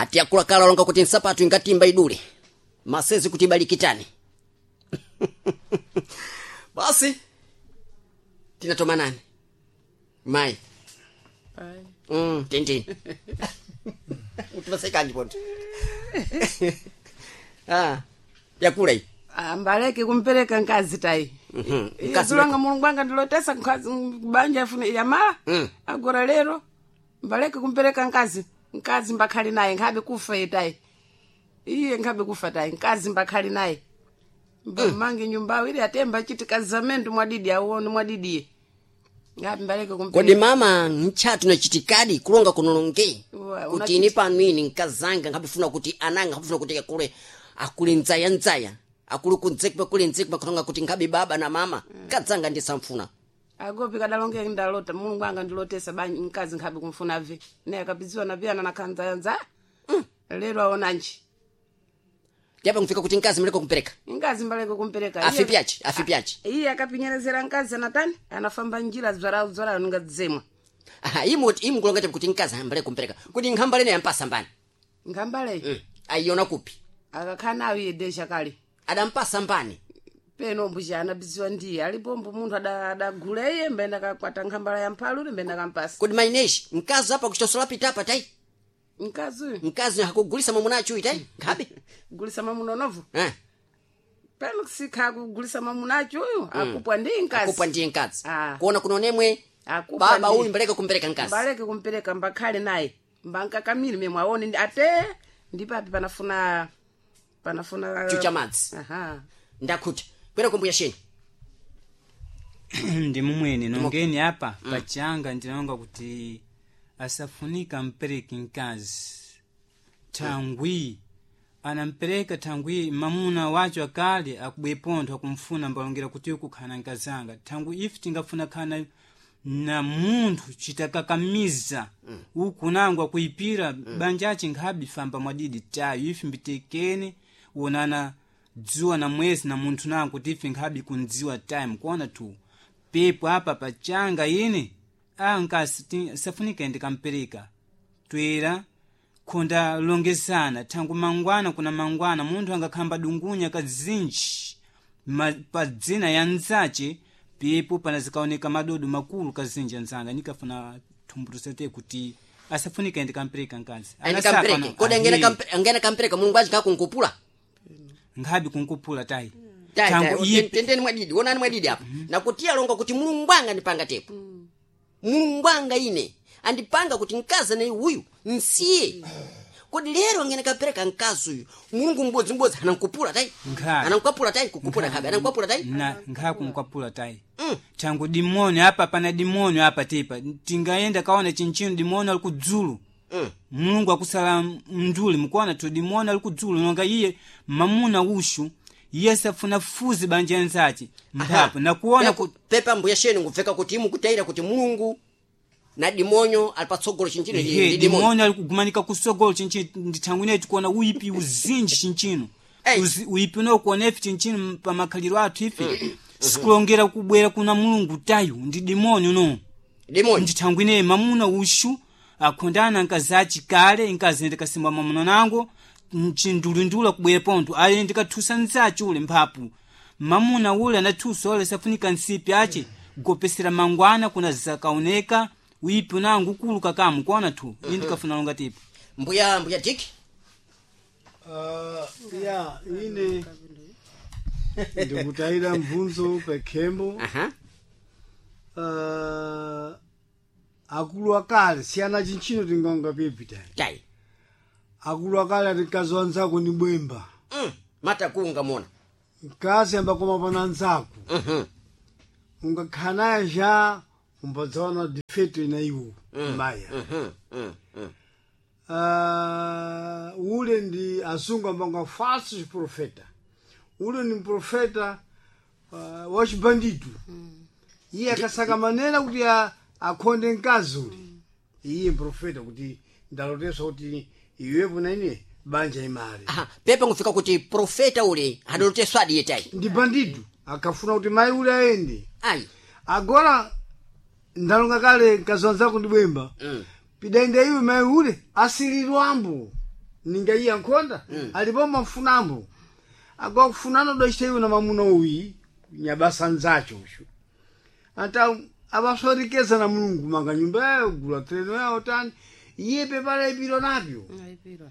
Ati akulakala longa kuti nsapatu ingatimba idule masezi kuti ibalikitane. Basi tinatomanani mai. Tintini utimasekanji ponto. Ah, yakula iyi. Mbaleke kumpereka nkazi tayi. Nkazi. Zulanga mulungu anga ndilotesa nkazi banja afune yamala. Agora lero mbaleke kumpereka nkazi, nkazi mbakhali naye nkhabe kufa ye tayi, iye nkhabe kufa tayi, nkazi mbakhali naye mbamange nyumba ili atemba chiti kazamendo mwadidi awone mwadidiye ngapi mbaleke Kodi kumpereka. mama nchatu nachitikadi kulonga kunolonge Uwa, kuti ini pano ini nkazanga nkhabifuna kuti ananga nkhabifuna kuti akule akule ndzaya ndzaya akule kunzekwa kule nzekwa kulonga kuti nkhabe baba na mama kadzanga ndisamfuna. Agopi kadalonge ndalota mulungu anga ndilotesa banja mkazi nkhabe kumfuna vi naye akapidziwa na piyana nakhanzayanza lero aonanji. Tyapa nkufika kuti nkazi mleko kumpereka. Ingazi mbaleke kumpereka. Afipi achi afipi achi. Iye akapinyerezera nkazi anatani anafamba njira dzwarao dzwarao ningadzemwa. Aha, imu imu kulonga chapu kuti nkazi ambale kumpereka kuti nkhambale naye ampasa mbani. Nkhambale. Ayiona kupi? Akakhala nayo iye desha kale. Adampasa mbani? Peno mbuja anabiziwa ndiye alipombo munthu adagula iye mbene akakwata nkhambala ya mphalu mbene akampasa. Kodi maineshi mkazi apa kuchitosola pitapa tai? Mkazi uyu. Mkazi hakugulisa mwamuna achuyi tai nkhabe. Gulisa mwamuna unovu. Eh. Peno sikha kugulisa mwamuna acho uyu akupwa ndiye mkazi. Akupwa ndiye mkazi. Ah. Kuona kunonemwe Akupwa baba ndiye. uyu mbaleke kumpereka mkazi. Mbaleke kumpereka mbakhale naye mbankakamiri memwe aone ate ndipapi panafuna panafuna Chucha madzi. Aha. Ndakhuta kwera kumbuya sheni. Ndi mumwene nongeni apa pachanga ndinonga kuti asafunika mpereke mkazi thangwi anampereka thangwi mamuna wacho akale akubwepontho akumfuna mbalongera kuti kukhana nkazanga thangwi ife tingafuna khana na munthu chitakakamiza uku nangu akuipira banjachi nkhabe famba mwadidi tayo ife mbitekene wonana dzuwa na mwezi na munthu nangu kuti ife nkhabe kundziwa time kuona tu pepo apa pachanga ine ankasi safunika ndikampereka twera khonda longezana thangu mangwana kuna mangwana munthu angakhamba dungunya kazinji pa dzina ya nzace pepo panazikaoneka madodo makulu kazinji anzanga nikafuna thumbutusete kuti asafunika ndikampereka nkazi. Andikampereke kodi angena kampereka mulungu achi kakunkupula. Nkhabe kunkupula tayi. Tai, Thangu tai, ipe tendeni mwadidi wonani mwadidi apa nakuti alonga kuti mulungu anga ndipanga tepo mulungu anga ine andipanga kuti mkazi anayi uyu nsiye kodi lero angene kapereka mkazi uyu mulungu mbodzimbodzi anankupula tai. Nkhabe. Anankwapula tai kukupula nkhabe anankwapula tai. Na nkhakunkwapula tayi. Thangu dimoni apa pana dimoni apa tepa tingaenda kaona chinchino dimoni ali kudzulu. Mulungu akusala mnduli mukuona tu dimoni ali kudzulu nonga iye mamuna ushu iye safuna fuzi banja nzace mphapo nakuona Pepa mbuya sheni ngubveka kuti imukutaira kuti mulungu na dimonyo ali patsogolo chinchino Ehe, ndi dimonyo. dimoni ali kugumanika kusogolo chinchino ndithangwi ineyi tikuona uipi uzinji chinchino. Ei. Uipi unokuona ife chinchino pamakhaliro athu ife sikulongera kubwera kuna mulungu tayo ndi dimoni uno. Dimonyo. Ndithangwi ineyi mamuna ushu akhondana nkazi achikale nkazi ndikasimba mamuna nango mchindulindula kubwera pontho aye ndikathusa nzace ule mphapu mamuna ule anathusa ule safunika nsipi ace gopesera mangwana kuna zakaoneka uipi unango ukulu kakamu kuona tu ine ndikafuna longa tipo. Mbuya mbuya diki. Ya ine ndikutayira mvunzo pekhembo. Aha. Akulu akale siyana chinchino tingonga pipi tayi. Tai. Akulu akale ati mkazi wanzako ni bwemba. Matakunga mona. Mkazi ambakoma pana nzako. Ungakhala naye ja umbadzaona defeto ina iwo maya. Ule ndi azungu ambanga falsos profeta ule ni profeta wa chibanditu iye akasaka manena kuti akhonde mkazi ule iye mprofeta kuti ndaloteswa kuti iwepo na ine banja imali. Aha, pepa ngufika kuti profeta ule adaloteswadi ye tai. Ndi banditu akafuna kuti mayi ule ayende. Ayi. Agora ndalonga kale mkazi wanzako ndi bwemba. Pidaenda iwe mayi ule asililwambo. Ninga iye ankhonda alipo mafunambo agwakufunana udacita iwe na mamuna uyi nyabasa nzacho ushu ata abasorekeza na mulungu manga nyumba yayo gula treno yawo tani iye pepala ipiro napyo Ayipirwa.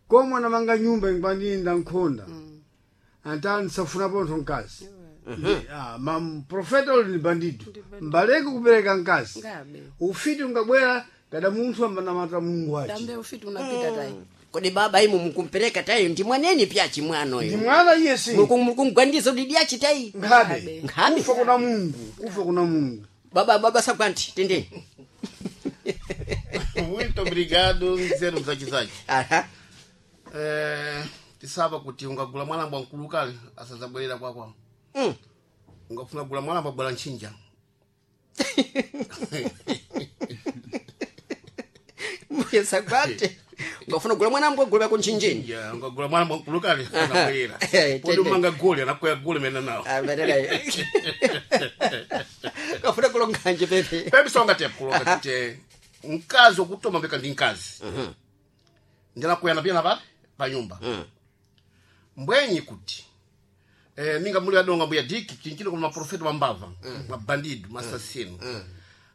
komwe anamanga nyumba ingwandiyenda nkhonda anta nsafuna pontho mkazi mamprofeta uli ni bandido mbaleke kupereka mkazi Ngabe. ufiti ungabwera kada munthu ambanamata mulungu aci Tambe ufiti unapita tayi. Kodi baba imu mukumpereka tayi ndi mwaneni pyachi mwano ndi yo. mwana iye si Mukungwandiza udidi yachi tayi. nkhabe Nkhabe. kufa kuna mulungu kufa kuna mulungu Baba baba sagwanti tendeni. Muito obrigado, nzeru mzachizachi. Aha. Eh, tisaba kuti ungagula mwana mbwa mkulu kale asadzabwerera kwakwa. Ungafuna kugula mwana mbwa bwala ntchinja. Mbuye sagwante. Ungafuna kugula mwana mbwa gula kunchinjini. Ya, ungagula mwana mbwa mkulu kale anabwerera. Eh, Podi tende. umanga goli anakwera goli mena nawo. Ah, badala. Kafuna kulonganje pepe. Pepe songa te kulonga te mkazi okutoma mbeka ndi mkazi. Ndinakwera pia na pa nyumba. Mbwenyi kuti ninga muli adonga mbuya diki chinchino kuna maprofeta mambava mabandidu masasino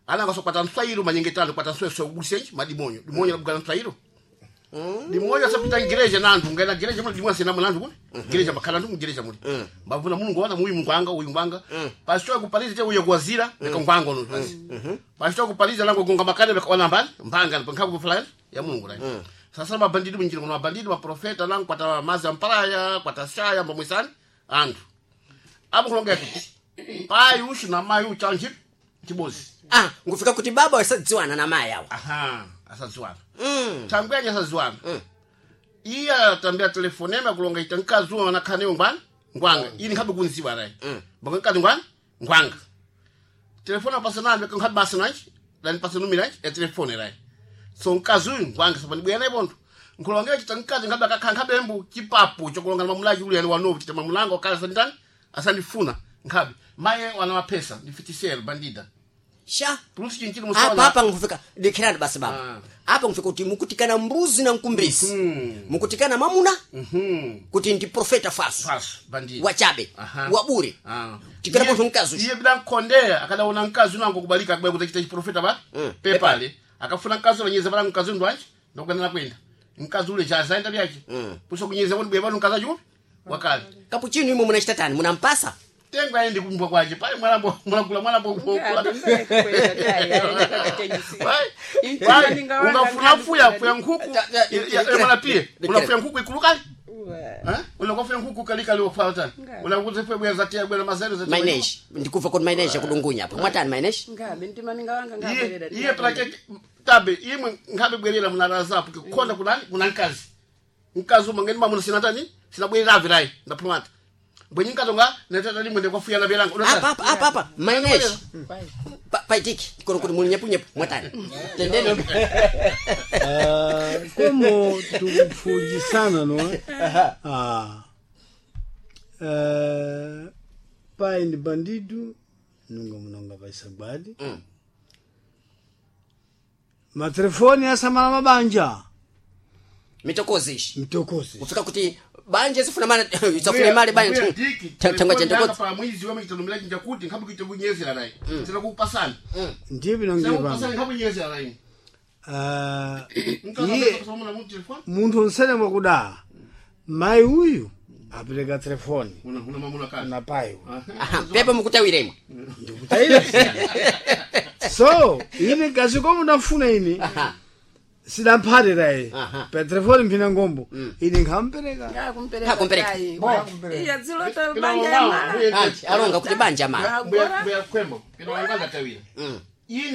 ana ngasokwata nswairo manyengetano kwata nswairo sokubusenji madimonyo dimonyo labugana nswairo dimonyo asapita ngereja nandu ngaina gereja muli dimonyo sina mlandu kule gereja makhala ndu gereja muli mbavuna mulungu wana muyu mungwanga uyu ngwanga pasito kupaliza te uyo kuwazira leka ngwanga ono basi pasito kupaliza lango gonga makale leka wana mbali mbanga nkhabu fulani ya mulungu lai sasa mabandidu minjira kuna mabandidu maprofeta langu kwata mazi ampalaya kwata shaya mbamwisani anthu apo kulongea kuti pai ushu na mai uchu chanji chibozi Ah, ngufika kuti baba wasadziwana na mai awa. aha asadziwana thangwenye asadziwana iye atambira telefonema kulonga ita mkazi uwo anakhaneyo ngwani ngwanga ini nkhabe kunziwa rayi mbako mkazi ngwani ngwanga telefoni apasanambe nkhabe basa nanji lanipasa numira ya telefoni rayi so mkazi uyu ngwanga sapanibwera naye pontho nkulongera chita mkazi nkhabe akakhala nkhabe mbu chipapu chokulonga na mamulaji uli ali wanovu chita mamulanga wakhala asanditani asandifuna nkhabe maye wana mapesa ndi fitisero bandida Sha. pulusi chinchino Apa musawana apa ngufika dikirani basi baba. Apa ngufika kuti mukutikana mbuzi na mkumbisi. Mukutikana mamuna kuti ndi profeta faso. faso bandida Wachabe. Aha. Wabure. Ah. Tikana Iye- pontho mkazi uyu. iye bila nkondera akadaona mkazi unango kubalika akubaya kuti achita chiprofeta pa pepale akafuna mkazi ulanyeza pala mkazi undu anji ndokugana kwenda mkazi ule chazaenda byache puso kunyeza kuti bwe pano mkazi achiupi wakale Kapuchino imwe munachita tani munampasa. tengo aende kumbwa kwache pale mwalambo mulagula mwalambo Ngabe, kwenda tayi, aende kachitenyisi. Intima ninga wanga ungafuna ngabe fuya fuya nkhuku Ta- ta- mwana pie unafuya nkhuku ikulukali Uwa. unakofuya nkhuku kalikali wafuya tani unakuzefuya bwera zatia bwera mazero zatia Mainesh. Ndikuva kuti mainesh akudungunya apa. Mwatani mainesh? Ngabe ntima ninga wanga iye ngabwerera. iye plake tabe imwe nkhabe bwerera munalazapo kukhonda kunani kuna mkazi mkazi umwe ngeni mamuna sina tani sinabwerera avirayi ndaphumata bwenye mkazi nga netata limwe ndikwafuya belanga Apa apa apa apa. Mainesh. Paitiki. Kono kuti muli nyepu nyepu mwatani. Tendeni. Ah, como tukufujisana no eh? ah. Pai ndi bandido nunga munonga paisagwadi matelefoni asamala mabanja Mitokozi ishi. mtokozi Kufika kuti banje sifuna mana isafuna mali banje. Tangwa chentokozi. pa mwizi wame chitanomera chinja kuti nkhabe kuita kunyezera nayi tena kupasana ndiye binonge tena kupasana pano nkhabe kunyezera nayi Ah, mkazi iye akapasa muna mu telefoni munthu onsene mwakuda mayi uyu apereka telefoni una una mamuna kazi na pai uyu Aha, pepe mukutawiremo. ndikutayira so ine kazi komo ndafuna ine Aha. sidamphate Aha. pa telefoni mphina ngombo ine nkhampereka Ngakumpereka Ngakumpereka. tayi. Bo. Iya dzilota banja ya mara. Anti alonga kuti banja mali. Agora mbuya kwembo pino wangaza tawira ine